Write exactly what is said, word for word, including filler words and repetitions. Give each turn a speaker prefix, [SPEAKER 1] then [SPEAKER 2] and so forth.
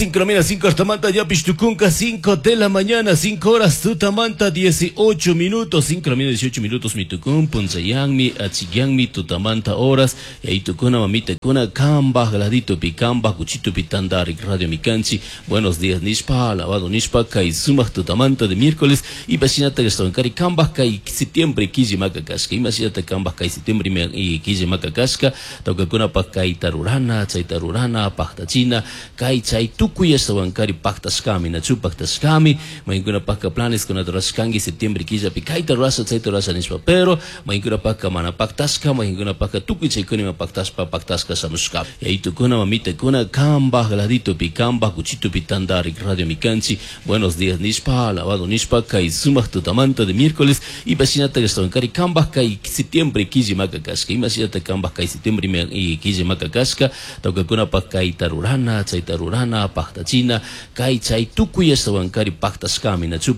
[SPEAKER 1] Cinco de la mañana, cinco hasta manta, ya pistucunca, cinco de la mañana, cinco horas, tutamanta, dieciocho minutos, cinco de la mañana, dieciocho minutos, mitucun, punzayangmi, achiyanmi, tutamanta horas, y ahí tucuna, mamita, cuna, camba, gladito, picamba, cuchito, pitanda, radio micanchi, buenos días, nishpa, alabado nishpa, kay sumaq tutamanta de miércoles, y basinata, gastoncari, camba, kay septiembre, quille macacasca, imasinata, camba, kay septiembre, y quille macacasca, tocacuna, pa, kay tarurana, chay tarurana, pactachina, kay chay tukuy ashtawankari paktashkami, nachu paktashkami, maykunapakka planes kunata rurashkanki septiembre killapi kayta rurasha chayta rurasha nishpa, pero maykunapakka mana paktashka, maykunapakka tukuy chaykunima paktashpa paktashka shamushka. Yayitukuna mamitakuna kambaj laditopi kambaj kuchitupi tandarik radio mikanchi, buenos días nishpa, alabado nishpa, kay sumaq tutamanta de miércoles, y bashinata ashtawankari kambaj kay septiembre killa makakashka, imashinata kambaj kay septiembre y killa makakashka, tawkakunapaq kayta rurana, chayta rurana, paktachina, kay chay tukuy ashtawankari paktashkami, nachu